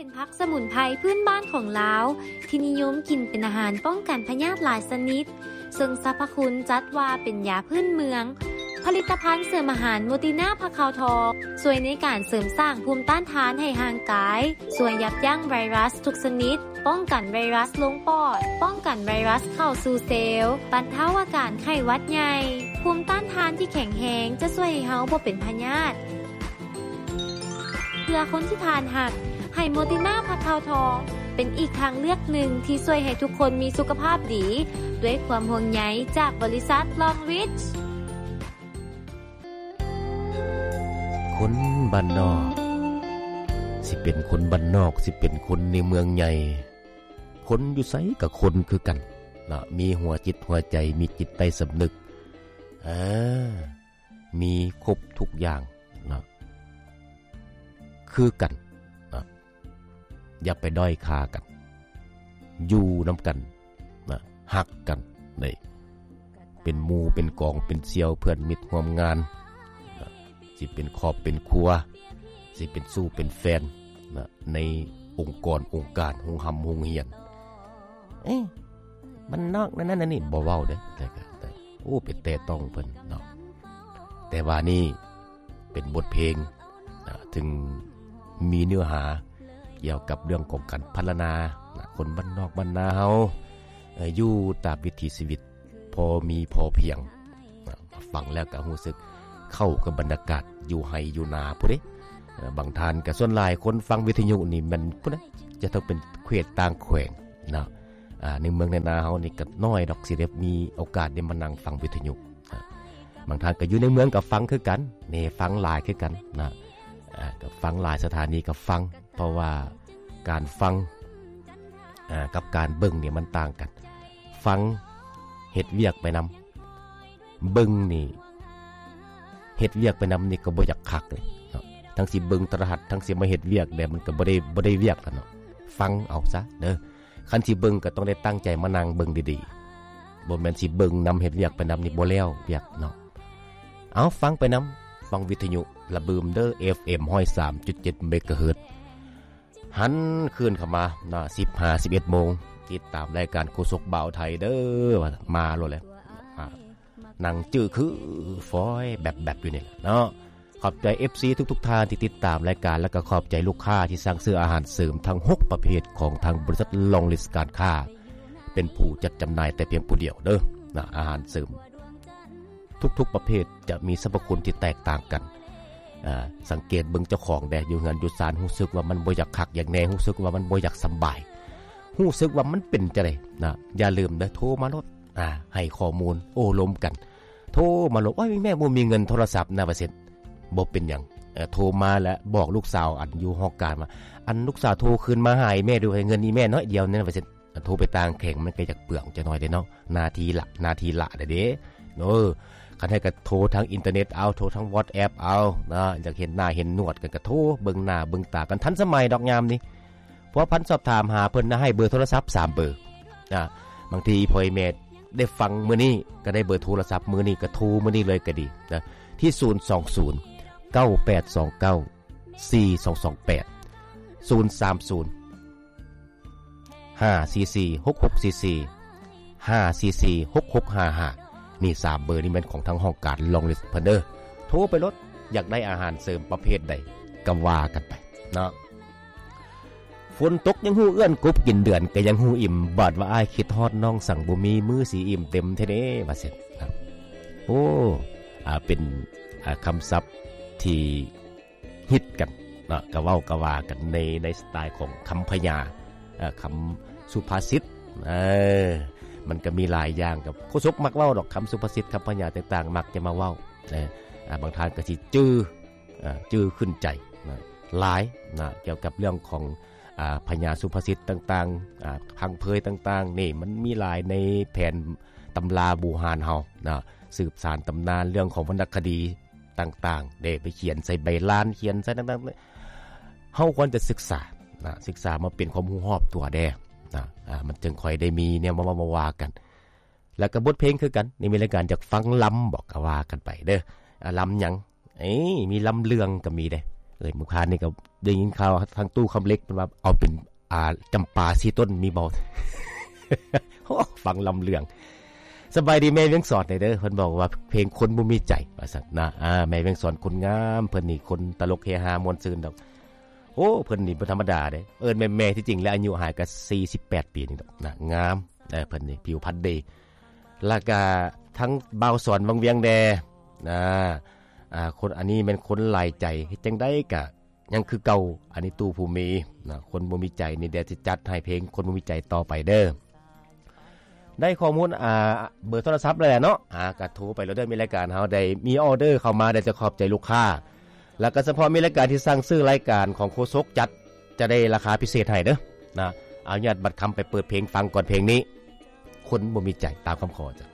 ເປັນຜັກສະໝຸນໄພພື້ນບ້ານຂອງລາວ ທີ່ນິຍົມກິນເປັນອາຫານປ້ອງກັນພະຍາດຫຼາຍຊະນິດ, ເຊິ່ງສັບພະຄຸນຈັດວ່າເປັນຢາພື້ນເມືອງ. ຜະລິດຕະພັນເສີມອາຫານໂມຕິນາຜັກຂາວທອງ ຊ່ວຍໃນການເສີມສ້າງພູມຕ້ານທານໃຫ້ຮ່າງກາຍ, ຊ່ວຍຢັບຢັ້ງໄວຣັສທຸກຊະນິດ, ປ້ອງກັນໄວຣັສລົງປອດ, ປ້ອງກັນໄວຣັສເຂົ້າສູ່ເຊວ, ບັນເທົາອາການໄຂ້ຫວັດໃຫຍ່. ພູມຕ້ານທານທີ່ແຂງແຮງຈະຊ່ວຍໃຫ້ເຮົາບໍ່ເປັນພະຍາດ. ເພື່ອຄົນທີ່ທ່ານຮັກ, ໃຫ້ໂມຕິນາຜັກຂາວທອງ ເປັນອີກທາງເລືອກໜຶ່ງທີ່ຊ່ວຍໃຫ້ທຸກຄົນມີສຸຂະພາບດີ ດ້ວຍຄວາມຫ່ວງໃຍຈາກບໍລິສັດ Long Reach. ຄົນບ້ານນອກ ຊິເປັນຄົນບ້ານນອກ ຊິເປັນຄົນໃນເມືອງໃຫຍ່ ຄົນຢູ່ໃສກໍຄົນຄືກັນເນາະ ມີຫົວຈິດຫົວໃຈ ມີຈິດໃຕ້ສຳນຶກ ເອີ ມີຄົບທຸກຢ່າງເນາະ ຄືກັນເນາະ ຢ່າໄປດ້ອຍຄ່າກັນ ຢູ່ນຳກັນນະ ຮັກກັນເດ້ ເປັນໝູ່ເປັນກອງ ເປັນສ່ຽວເພື່ອນມິດຮ່ວມງານນະ ຊິເປັນຄອບເປັນຄົວ ຊິເປັນຊູ້ເປັນແຟນນະ ໃນອົງກອນອົງການ ໂຮງຮ່ຳໂຮງຮຽນ ເອ ບ້ານນອກນັ້ນນັ້ນນີ້ ບໍ່ເວົ້າເດ້ ແຕ່ກໍ ໂອ້ ໄປແຕະຕ້ອງເພິ່ນເນາະ ແຕ່ວ່ານີ້ເປັນບົດເພງ ເຊິ່ງມີເນື້ອຫາກ່ຽວກັບເລື່ອງຂອງການພັນລະນາ ຄົນບ້ານນອກບ້ານນາເຮົາ ເອີ ຢູ່ຕາມວິຖີຊີວິດພໍມີພໍພຽງ ຟັງແລ້ວກໍຮູ້ສຶກເຂົ້າກັບບັນຍາກາດຢູ່ໄຮ່ຢູ່ນາພຸ້ນເດ້ ເອີ ບາງທ່ານກໍ ສ່ວນຫຼາຍຄົນຟັງວິທະຍຸນີ້ແມ່ນພຸ້ນນະ ຈະຕ້ອງເປັນເຂດຕ່າງແຂວງເນາະ ອ່າ ໃນເມືອງໃນນາເຮົານີ້ກໍນ້ອຍດອກ ຊິໄດ້ມີໂອກາດໄດ້ມານັ່ງຟັງວິທະຍຸ ອ່າ ບາງທ່ານກໍຢູ່ໃນເມືອງກໍຟັງຄືກັນ ນີ້ຟັງຫຼາຍຄືກັນນະ ອ່າ ກໍຟັງຫຼາຍສະຖານີກໍຟັງ ເພາະວ່າການຟັງ ອ່າ ກັບການເບິ່ງນີ້ມັນຕ່າງກັນ ຟັງເຮັດວຽກໄປນຳ ເບິ່ງນີ້ເຮັດວຽກໄປນຳນີ້ກໍບໍ່ຢາກຄັກເລີຍເນາະ ທັງຊິເບິ່ງໂທລະທັດ ທັງຊິມາເຮັດວຽກແດ່ ມັນກໍບໍ່ໄດ້ ບໍ່ໄດ້ວຽກລະເນາະ ຟັງເອົາຊະເດີ ຄັນຊິເບິ່ງກໍຕ້ອງໄດ້ຕັ້ງໃຈມານັ່ງເບິ່ງດີໆ ບໍ່ແມ່ນຊິເບິ່ງນຳເຮັດວຽກໄປນຳນີ້ບໍ່ແລ້ວວຽກເນາະ ເອົາ ຟັງໄປນຳ ຟັງວິທະຍຸລະບືມເດີ ເອັຟເອັມ ຮ້ອຍສາມຈຸດເຈັດ ເມກາເຮີດ ຫັນຄືນເຂົ້າມາເນາະ ສິບຫ້າ ສິບເອັດໂມງ ຕິດຕາມລາຍການໂຄສົກບ່າວໄທເດີ ວ່າມາໂລດແຫຼະ ອ່າ ນັ່ງຈື່ຄືຝອຍແບັບໆຢູ່ນີ້ແຫຼະເນາະ ຂອບໃຈເອັຟຊີທຸກໆທ່ານທີ່ຕິດຕາມລາຍການ ແລະກໍຂອບໃຈລູກຄ້າທີ່ສັ່ງຊື້ອາຫານເສີມທັງຫົກປະເພດຂອງທາງບໍລິສັດ Long Reach ການຄ້າ ເປັນຜູ້ຈັດຈຳໜ່າຍແຕ່ພຽງຜູ້ດຽວເດີນະ ອາຫານເສີມທຸກໆປະເພດຈະມີສັບພະຄຸນທີ່ແຕກຕ່າງກັນ ອ່າ ສັງເກດເບິ່ງເຈົ້າຂອງແດ່ ຢູ່ເຮືອນຢູ່ຊານ ຮູ້ສຶກວ່າມັນບໍ່ຢາກຄັກຢາກແນ່ ຮູ້ສຶກວ່າມັນບໍ່ຢາກສຳບາຍ ຮູ້ສຶກວ່າມັນເປັນຈັ່ງໃດນະ ຢ່າລືມເດີ ໂທມາໂລດ ອ່າ ໃຫ້ຂໍ້ມູນໂອ້ລົມກັນ ໂທມາໂລດ ໂອ້ຍ ແມ່ບໍ່ມີເງິນໂທລະສັບນະ ວ່າຊັ້ນ ບໍ່ເປັນຫຍັງ ເອີ ໂທມາແລ້ວບອກລູກສາວ ອັນຢູ່ຫ້ອງການວ່າ ອັນລູກສາວໂທຄືນມາຫາອີ່ແມ່ດູ ໃຫ້ເງິນອີ່ແມ່ໜ້ອຍດຽວນີ້ນະ ວ່າຊັ້ນ ໂທໄປຕ່າງແຂວງມັນກໍຢາກເປືອງຈັກໜ້ອຍເດ້ເນາະ ໜ້າທີ່ລະ ໜ້າທີ່ລະເດ້ ເອີ ຄັນໃຫ້ກໍໂທທາງອິນເຕີເນັດເອົາ ໂທທາງວອດແອັບເອົານະ ຢາກເຫັນໜ້າເຫັນໜວດກັນກໍໂທ ເບິ່ງໜ້າເບິ່ງຕາກັນ ທັນສະໄໝດອກຍາມນີ້ ພົວພັນສອບຖາມຫາເພິ່ນນະ ໃຫ້ເບີໂທລະສັບສາມເບີ ອ່າ ບາງທີພໍ່ແມ່ໄດ້ຟັງມື້ນີ້ ກໍໄດ້ເບີໂທລະສັບມື້ນີ້ ກໍໂທມື້ນີ້ເລີຍກໍດີນະ ທີ່ ສູນສອງສູນ ເກົ້າແປດສອງເກົ້າ ສີ່ສອງສອງແປດ ສູນສາມສູນ ຫ້າສີ່ສີ່ ຫົກຫົກສີ່ສີ່ ຫ້າສີ່ສີ່ ຫົກຫົກຫ້າຫ້າ ນີ້ສາມເບີນີ້ແມ່ນຂອງທາງຫ້ອງການ Long Reach ເພິ່ນເດີ ໂທໄປໂລດ ຢາກໄດ້ອາຫານເສີມປະເພດໃດກໍວ່າກັນໄປເນາະ ຝົນຕົກຍັງຮູ້ເອື້ອນ ກົບກິນເດືອນກໍຍັງຮູ້ອີ່ມ ບາດວ່າອ້າຍຄິດຮອດນ້ອງ ສັງບໍ່ມີມື້ຊິອີ່ມເຕັມແທ້ເດ້ ວ່າຊັ້ນ ໂອ້ ອ່າ ເປັນ ອ່າ ຄຳສັບທີ່ ຮິດກັນເນາະ ກະເວົ້າກະວ່າກັນໃນ ໃນສະໄຕຂອງຄຳພະຍາ ເອີ ຄຳສຸພາສິດ ເອີ ມັນກະມີຫຼາຍຢ່າງ ກັບໂຄສົກມັກເວົ້າດອກ ຄຳສຸພາສິດ ຄຳພະຍາຕ່າງໆ ມັກຈະມາເວົ້າ ເອີ ອ່າ ບາງທ່ານກະຊິຈື່ ເອີ ຈື່ຂຶ້ນໃຈນະ ຫຼາຍນະ ກ່ຽວກັບເລື່ອງຂອງ ອ່າ ພະຍາສຸພາສິດຕ່າງໆ ອ່າ ພັງເພີຍຕ່າງໆ ນີ້ມັນມີຫຼາຍໃນແຜນຕຳລາບູຮານເຮົານະ ສືບສານຕຳນານເລື່ອງຂອງວັນນະຄະດີ ຕ່າງໆ ໄດ້ໄປຂຽນໃສ່ໃບລານ ຂຽນໃສ່ຕ່າງໆ ເຮົາຄວນຈະສຶກສານະ ສຶກສາມາເປັນຄວາມຮູ້ຮອບຕົວແດ່ນະ ອ່າ ມັນຈຶ່ງຄ່ອຍໄດ້ມີແນວມາເວົ້າມາວ່າກັນ ແລ້ວກໍບົດເພງຄືກັນ ນີ້ມີລາຍການຢາກຟັງລຳບໍ ກໍວ່າກັນໄປເດີ ອ່າ ລຳຫຍັງ ເອີ ມີລຳເລື່ອງກໍມີເດ້ ເອີຍ ມື້ຄານນີ້ກໍໄດ້ຍິນຂ່າວທາງຕູ້ຄຳເຫຼັກ ເພິ່ນວ່າເອົາເປັນ ອ່າ ຈຳປາສີ່ຕົ້ນມີບໍ່? ໂອ້ ຟັງລຳເລື່ອງ. ສະບາຍດີແມ່ວຽງສອນເດີ ເພິ່ນບອກວ່າເພງຄົນບໍ່ມີໃຈວ່າຊັ້ນນະ. ອ່າ ແມ່ວຽງສອນຄົນງາມ ເພິ່ນນີ້ຄົນຕະຫຼົກເຮຮາມ່ວນຊື່ນດອກ. ໂອ້ ເພິ່ນນີ້ບໍ່ທຳມະດາເດ້ ເອີ້ນແມ່ໆ ທີ່ຈິງແລ້ວອາຍຸຫາຍກໍສີ່ສິບແປດປີນີ້ດອກນະ ງາມ. ເອີ ເພິ່ນນີ້ຜິວພັນດີ ແລ້ວກະທັງບ່າວສອນວັງວຽງແດ່ນະ. ອ່າ ຄົນອັນນີ້ແມ່ນຄົນຫຼາຍໃຈ ເຮັດຈັ່ງໃດກະຍັງຄືເກົ່າ. ອັນນີ້ຕູ້ຜູ້ມີນະ ຄົນບໍ່ມີໃຈນີ້ ດຽວຊິຈັດໃຫ້ເພງຄົນບໍ່ມີໃຈຕໍ່ໄປເດີ. ໄດ້ຂໍ້ມູນ ອ່າ ເບີໂທລະສັບແລ້ວເນາະ ອ່າ ກະໂທໄປໂລດເດີ. ມີລາຍການເຮົາໄດ້ມີອໍເດີເຂົ້າມາ ໄດ້ຈະຂອບໃຈລູກຄ້າ ແລ້ວກະສະເພາະມີລາຍການທີ່ສັ່ງຊື້ລາຍການຂອງໂຄສົກຈັດ ຈະໄດ້ລາຄາພິເສດໃຫ້ເດີນະ. ອະນຸຍາດບັດຄຳໄປເປີດເພງຟັງກ່ອນ ເພງນີ້ ຄົນບໍ່ມີໃຈ ຕາມຄຳຂໍຈ້ະ.